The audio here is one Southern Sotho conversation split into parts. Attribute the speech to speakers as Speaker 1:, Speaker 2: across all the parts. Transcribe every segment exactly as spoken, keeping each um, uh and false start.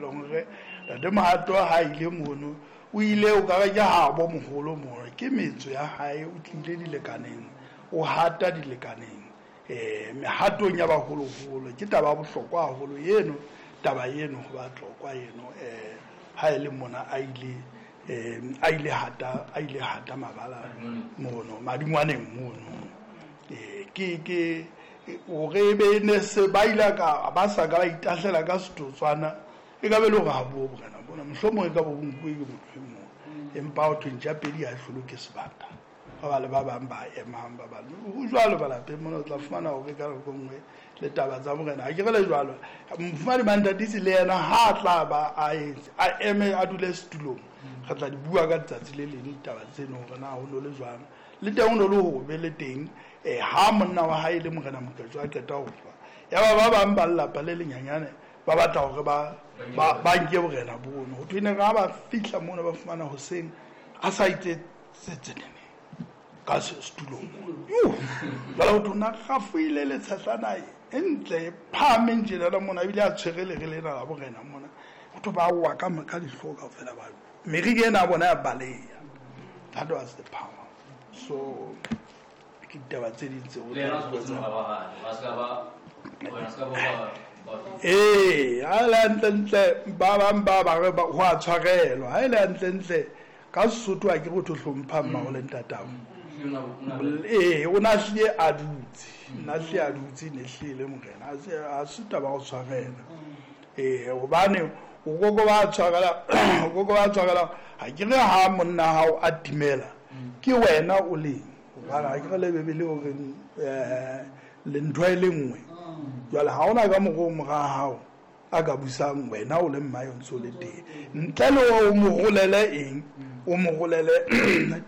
Speaker 1: Leng hore Ntate Mohato ha ile mono o ile o ka re ke habo moholo mono ke metso ya hae o tlile dilekaneng o hata dilekaneng eh mehatong ya baholoholo ke taba ya bohlokwa haholo eno taba eno ho Batlokwa eno eh ha e le mona a ile eh a ile hata a ile hata mabala mono madingwaneng mono eh ke ke o re be ne se ba ile ka ba sa ka ba itahlela ka setotswana e ka be le hore ha bo borena bona mohlomong e ka bo nkuwe ke motho e mong empa o thwe ntja pedi ha e hlolwe ke sebata ba ba le ba bang ba emang ba bang ho jwalo ba lapeng mona o tla fumana hore ka nako e nngwe le taba tsa morena ha ke re le jwalo mofumahadi Mantatisi le yena ha a tla ba a etse a eme a dule setulong re tla di bua ka letsatsi le leng ditaba tseno hore na ho no le jwang le teng ho no le hobe le teng eh ha monna wa hae le morena Moketjo a qeta ho shwa ya ba ba bang ba lelapa le lenyenyane ba batla hore ba ba ba nke borena bono ho thwe ne ga ba fihla mona ba fumana hoseng a sa itse tsetsenene ka setulong yo jwale ho thwe na gafoile le tshehlana e ntle e phahameng tjenana mona ebile a tshwere lere lena la borena mona ho thwe ba wa ka ka dihlooho kaofela ba meriri ena ya bona ya baleha. That was the power. So ke ditaba tse ding tseo
Speaker 2: Le yena o se mora wa hae, ba ska ba wena ska ba ba
Speaker 1: ee ha e le hantlentle ba bang ba ba re ba ho a tshwarelwa ha e le hantlentle ka Sesotho ha ke re ho hlompha mmao le ntatao ee o na hlile a dutse nna hlile a dutse ne hlile le morena ha se ha se taba ya ho tshwarela ee hobane o koko ba tshwarela o koko ba tshwarela ha ke re ha monna hao a timela ke wena o leng hobane ha ke re le Bebele o reng eh le ntho e le nngwe jwale ha hona ka mokgwa o mora hao a ka busang wena o le mmae o ntse o le teng ntle le hore o mo rolele eng o mo rolele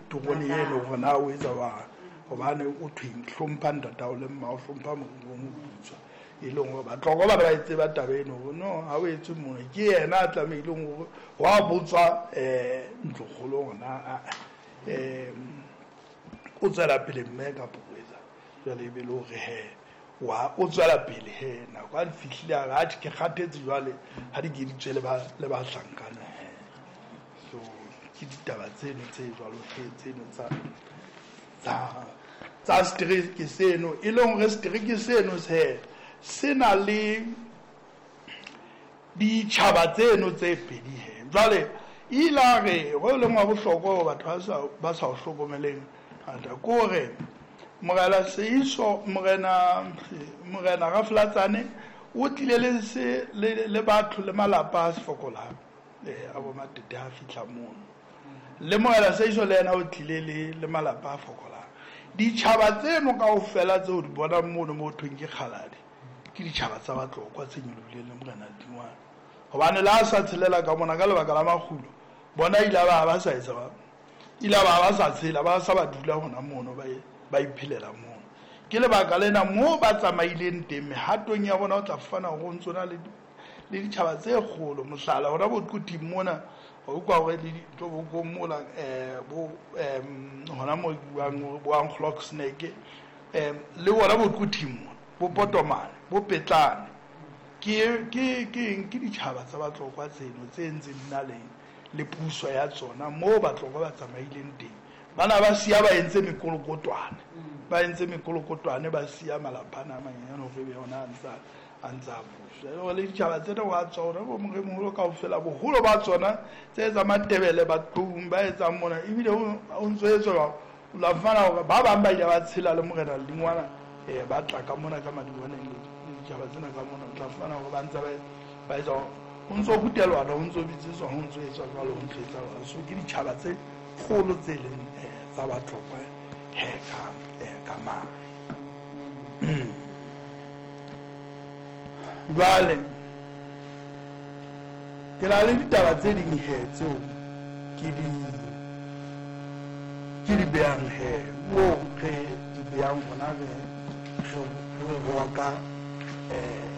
Speaker 1: terone eno hore na o etsa jwang hobane o thweng hlompha ntatao le mmao hlompha moriri o moputswa e leng hore Batlokwa ba ba e tseba taba eno hore no ha o etse mona ke yena a tlamehileng hore wa botswa um ntlokgolo hore na um o tswela pele mme kapa o etsa jwale e be le hore he wa o tswela pele he nako ha di fihlile a re atjhe ke kgathetse jwale ha di ke di tswe le ba le bahlankana he so ke ditaba tseno tse jwalo he tseno tsa tsa tsa setereke seno e leng hore setereke seno se se na le ditjhaba tseno tse pedi he jwale ile a re ho leng wa bohlokwa hore batho ba sa ba sa o hlokomeleng hangata ke hore Morena Seiso morena morena Raflatsane o tlile le se le le batho le malapa a se fokolang eh a bo Matete ha fihla mono le morena Seiso le yena o tlile le le malapa a fokolang ditjhaba tseno kaofela tseo di bonang mono mo thweng ke Kgaladi ke ditjhaba tsa Batlokwa tse nyolohileng le morena Dingwane hobane le ha sa tshelela ka mona ka lebaka la makgulo bona ile ba ba sa etsa ba ile ba ba sa tshela ba sa ba dula hona mono ba ba iphelela mono ke lebaka lena moo ba tsamaileng teng mehatong ya bona o tla fumana hore ho ntso na le le ditjhaba tse kgolo mohlala hona bo Quthing mona o utlwa hore le dintho bo ko mola eh bo em hona mo buang bo Angloxnek em le bona bo Quthing mona bo Potomane bo Petlane ke ke ke eng ke ditjhaba tsa Batlokwa tseno tse ntseng di na le le puso ya tsona moo Batlokwa ba tsamaileng teng bana ba siya ba entse mekolokotwane ba entse mekolokotwane ba siya malapa ana a manyenyane hore ebe ona a ntsa a ntsa busa e le ditjhaba tsena wa tsona bo moremoholo kaofela boholo ba tsona tse tsa Matebele Batlong ba etsang mona ebile o ntso etswa o la fumana hore ba bang ba ile ba tshela le morena Lengwana eh ba tla ka mona ka madingwaneng le ditjhaba tsena ka mona o tla fumana hore ba ntse ba ba etsa ho ntso rutelwana ho ntso bitsetswa ho ntso etswa jwalo ho ntso etsa jwalo so ke ditjhaba tse kgolo tse leng eh tsa Batlokwa he ka eh ka mane jwale ke na le ditaba tse ding he tseo ke di ke di behang he moo re di behang hona re re roka eh